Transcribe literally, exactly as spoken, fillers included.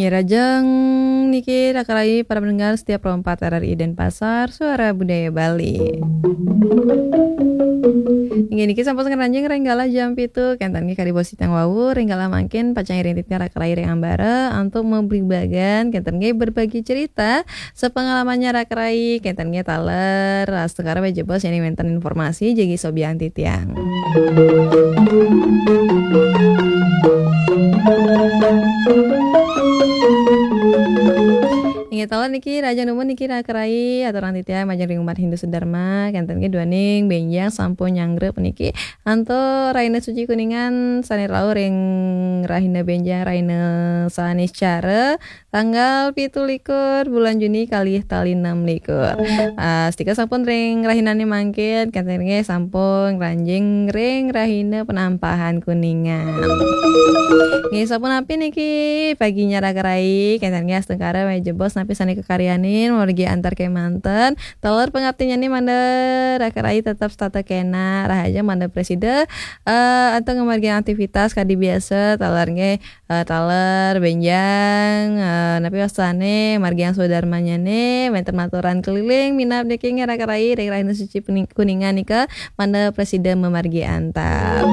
Rajang niki raka rai para pendengar setia Pro empat R R I Denpasar, Suara Budaya Bali. Inggih niki sampun ngranjing ring galah jam pitu, kenten nggih kadi bos titiang wau, ring galah mangkin pacang iring titiang raka rai ring ambara antuk mabebagan, kenten nggih berbagi cerita, sepengalamannya raka rai, kenten nggih taler, astungkara wéh jebos yén wénten informasi jagi sobian titiang. Inggih taler niki, Raja Numun niki raka rai, aturang titiang majeng ring umat Hindu sedharma, kenten nggih duaning bénjang sampun nyanggra puniki. Antuk rahina suci Kuningan sané rauh ring rahina bénjang, rahina Saniscara, tanggal pitu likur bulan Juni kalih tali enam likur. Ah, setika sampun ring rahinané mangkin, kenten nggih sampun ngranjing ring rahina penampahan Kuningan. Nggih, sapunapi niki paginya raka rai, kenten nggih astungkara wéh jebos napi sané kakaryanin, mamargi antar kémanten. Taler pangaptinnyané mangda raka rai tetep setata kénak, rahajeng mangda prasida, eh, antuk ngamargiang aktivitas kadi biasa, taler nggih, eh, taler bénjang, eh, napi wastané margiang swadarmannyané, wénten maturan keliling, minab niki nggih raka rai, ring rahina suci Kuning-, Kuningan nika, mangda prasida mamargi antar.